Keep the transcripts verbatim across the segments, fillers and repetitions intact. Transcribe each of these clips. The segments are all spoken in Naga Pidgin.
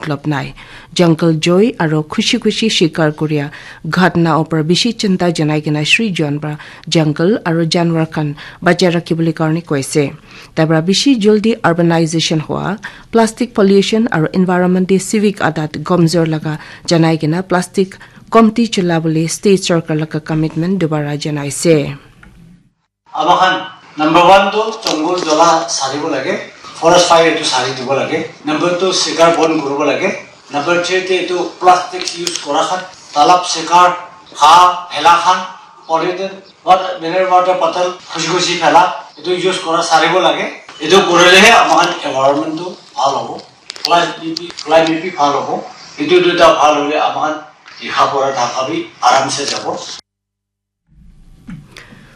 matlab nai. Jungle joy aro khushi khushi shikar kuria ghatna opor bishi chinta janai kena Shri John pra jungle aro janwar khan bachai rakhibole karne koise. Tai pra bishi jaldi urbanization hua, plastic pollution aro environment te civic adat gomzor laga janai kena plastic komti chula bole state sarkar laga commitment dubara janaise. Amakhan number one tu jungle jala saribo lage, forest fire tu sari dibo lage. Number two sikar bon kuribo lage. Number three te etu plastic use kora khan, talab sikar, ha, hela khan, polythene, what mineral water bottle, khushi khushi phala, etu use kora saribo lage. Etu kurilehe amakhan environment tu bhal hobo, climate bi, climate bi bhal hobo. Etu duita bhal hole amakhan likha pora dhaka bi aram se jabo.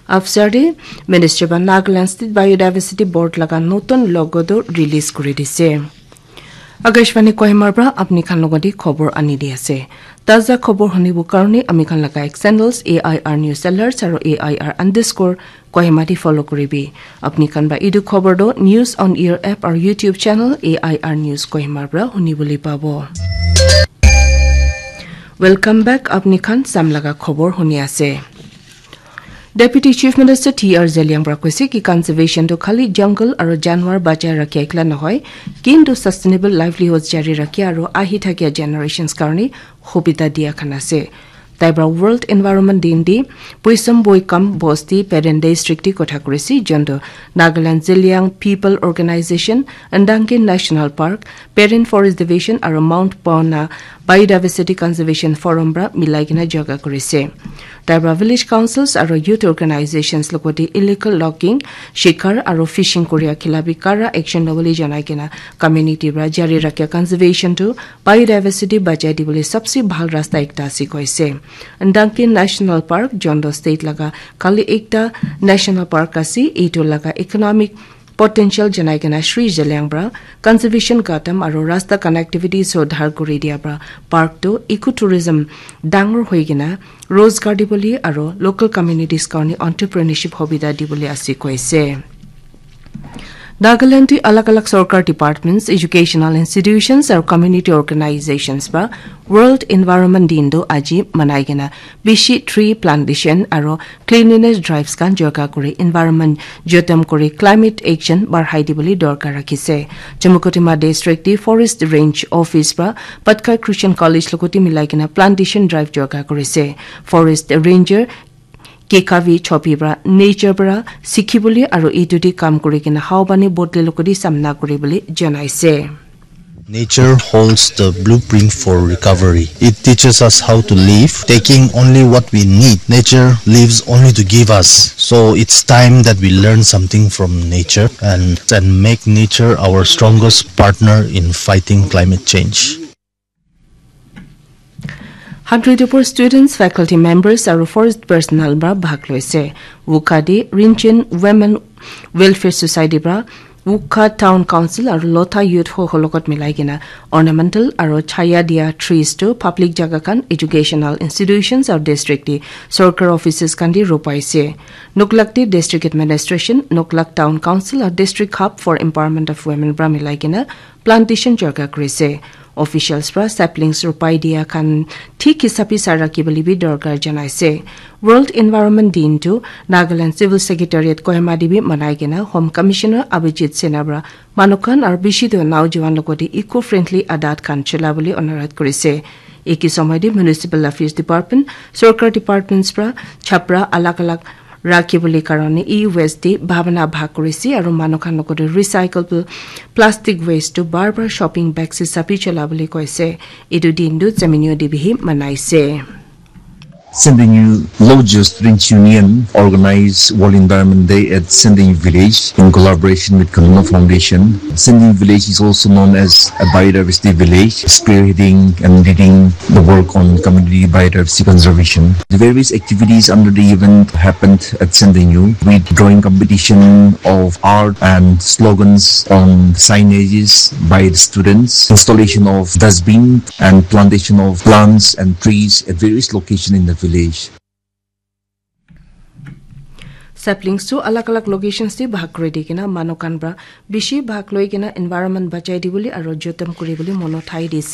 After de Minister ba Nagaland State Biodiversity Board laga notun logo do release kuri dise. Akashvani Kohima pra apni khan logodi khobor ani di ase. Taza khobor hunibo karone ami khan laga X channels A I R News Alerts aro A I R underscore Kohima di follow kuribi. Apni khan ba idu khobor do News on Air app aro YouTube channel A I R News Kohima pra hunibole pabo. Welcome back, apni khan sam laga khobor huni ase. Deputy Chief Minister T R Zeliang pra koise ki conservation tu khali jungle aro janwar bachai rakhi ekla nohoi, kintu sustainable livelihoods jari rakhi aro ahi thakia generations karne hobita dia khan ase. Tai pra World Environment Din di Puisam Boikam Bosti Peren District di kotha kurisi, jonto Nagaland Zeliang People Organization, Ndangki National Park, Peren Forest Division aro Mount Pauna Biodiversity Conservation Forum pra milai kena jaga kurise. Tai pra village councils aro youth organizations logoti illegal logging, shikar aro fishing kuria khilafi kara action lobole janai kena community pra jari rakha conservation tu biodiversity bachai dibole sabse bhal rasta ekta ase koise. Ndangki National Park, jonto state laga khali ekta national park ase, etu laga economic potential janai kena Shri Zeliang pra conservation gadam aro rasta connectivity sudhar kuri dia pra park tu ecotourism dangor hoi kena rozgar dibole aro local communities karne entrepreneurship hobita dibole ase koise. Nagaland te alag alag sorkar departments, educational institutions aro community organizations pra World Environment Din tu aji manai kena bishi tree plantation aro cleanliness drives khan jaga kuri environment jotom kuri climate action barhai dibole dorkar rakhise. Chumukotima District te Forest Range Office pra Patkai Christian College logoti milai kena plantation drive jaga kurise. Forest Ranger Kekavi Chopi pra nature pra sikhibole aro etu te kam kuri kena haobani bodle logoti samna kuribole janaise. Nature holds the blueprint for recovery. It teaches us how to live, taking only what we need. Nature lives only to give us. So it's time that we learn something from nature and, and make nature our strongest partner in fighting climate change. Hundred upor students, faculty members aro forest personnel pra bhag loise. Wukha de Rinchen Women Welfare Society pra Wukha Town Council aro Lotha Youth ho hologot milai kena ornamental aro chaya dia trees to public jaga khan, educational institutions aro district de sorkar offices khan de ropaise. Noklak de District Administration, Noklak Town Council aro District Hub for Empowerment of Women pra milai kena plantation jaga kurise. Officials pra saplings ropai dia khan thik hisabi sara kibole bi dorkar janaise. World Environment Din tu Nagaland Civil Secretariat Kohima de bi manai kena Home Commissioner Abhijit Sinha pra manu khan aro bishi tu naujawan logoti eco-friendly adat khan chula bole onurodh kurise. Eki somoy de Municipal Affairs Department, sorkar departments pra chapra alag alag rakhi bole karone e-waste de bhabana bhag kurise aro manu khan logoti recyclable plastic waste tu bar bar shopping bag hisabi chula bole koise. Etu din tu Semenyo de bihi manaise. Sendinyu Lodges Students Union organized World Environment Day at Sendinyu Village in collaboration with Khanuma Foundation. Sendinyu Village is also known as a biodiversity village, spearheading and leading the work on community biodiversity conservation. The various activities under the event happened at Sendinyu, with drawing competition of art and slogans on signages by the students, installation of dustbin and plantation of plants and trees at various locations in the village. Saplings tu alag alag locations te bhag kuri di kena manu khan pra bishi bhag loi kena environment bachai dibole aro joton kuribole mon uthai dise.